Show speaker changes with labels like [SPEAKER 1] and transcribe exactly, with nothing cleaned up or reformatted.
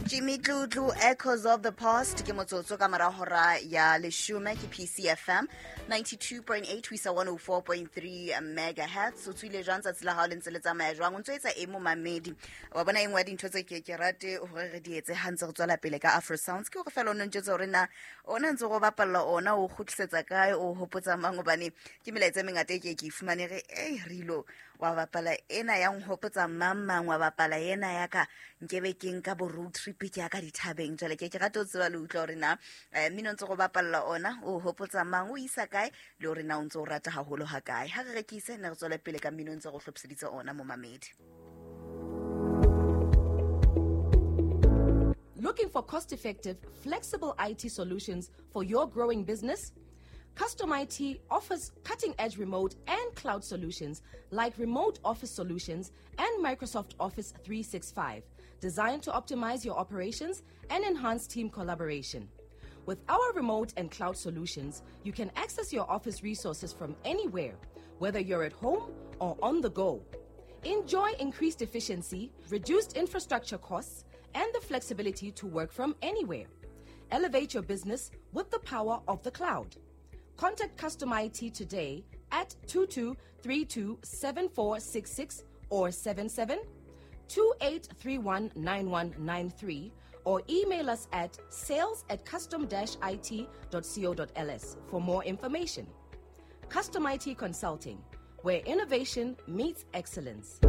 [SPEAKER 1] Jimmy Dludlu, Echoes of the Past, ke motsotso ka mora hora ya leshome, ke P C F M ninety-two point eight ho isa one oh four point three megahertz. O tswile jwang tsatsi la hao le ntse le tsamaya jwang? O ntso etsa eng momamedi? Wa bona e nngwe ya dintho tse ke ke rate hore re di etse ha ntse re tswela pele ka Afro Sounds, ke hore feela o no ntjwetsa hore na ona ntse go bapalla ona o kgutlisetsa kae, o hopotsa mang, hobane ke melaetsa e mengata e ke ke e fumane re, ei, re ilo wa bapala ena ya nhopotsa mang mang, wa bapala ena ya ka nkebe ke nka bo road trip ke ya ka dithabeng. Jwale ke ke rata ho tseba le utlwa hore na, eh, mmino ntse go bapalla ona o hopotsa mang, o isa kae, le hore na o ntse o rata haholo ha kae. Ha re rekise ne re tswele pele ka mmino ntse go hlophiseditse ona momamedi.
[SPEAKER 2] Looking for cost-effective, flexible I T solutions for your growing business? Custom I T offers cutting-edge remote and cloud solutions like remote office solutions and Microsoft Office three sixty-five, designed to optimize your operations and enhance team collaboration. With our remote and cloud solutions, you can access your office resources from anywhere, whether you're at home or on the go. Enjoy increased efficiency, reduced infrastructure costs, and the flexibility to work from anywhere. Elevate your business with the power of the cloud. Contact Custom I T today at two two three two seven four six six or seven seven two eight three one nine one nine three or email us at sales at custom dash I T dot co dot L S for more information. Custom I T Consulting, where innovation meets excellence.